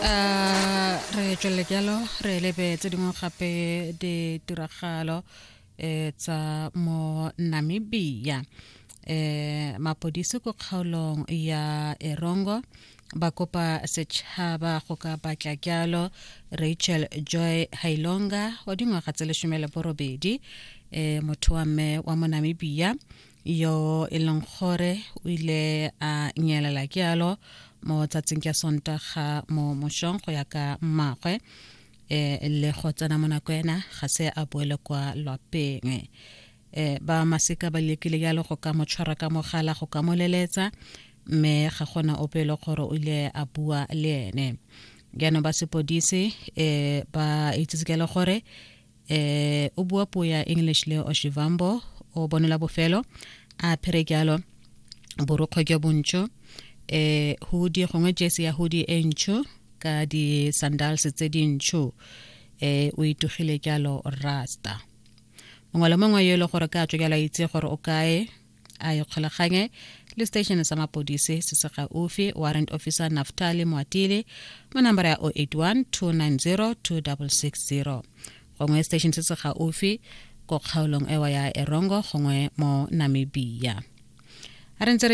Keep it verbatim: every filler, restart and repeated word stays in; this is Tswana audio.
Uh, re tswelele jalo re lebe tse dingwe gape ditiragalo eh, tsa mo Namibia. eh mapodisi ko kgaolong ya Erongo ba kopa setšhaba go ka batla jalo Rachel Joy Hailonga wa dingwaga tse lesome le borobedi, eh motho wa mme wa mo Namibia yo e leng gore o ile a nyelela jalo mo tsatsing ka Sontaga mo mošong go ya ka mmagwe, eh le go tsena mo nako ena ga se a boele kwa lwapeng. eh ba masika ba lekile jalo go ka mo tshwara ka mogala, go ka mo leletsa, mme ga gona ope e le gore o ile a bua le ene. Jaanong ba sepodisi eh ba itsitse ke le gore eh o bua puo ya English le Oshivambo. O bonela bofelo a phere jalo borokgwe jo bontsho, eh hoodie gongwe jersey ya hoodie e ntsho ka di sandals tse dintsho, eh o itugile jalo rasta. Mongwe le mongwe yo e le gore ka tswa jalo a itse gore o kae, a ikgolaganye le station sa mapodisi se se gaufi, Warrant Officer Naftali Moatile, mo number ya zero eight one two nine zero two six six zero, gongwe station se se gaufi ko kgaolong ewa ya Erongo gongwe mo Namibia. A re ntse re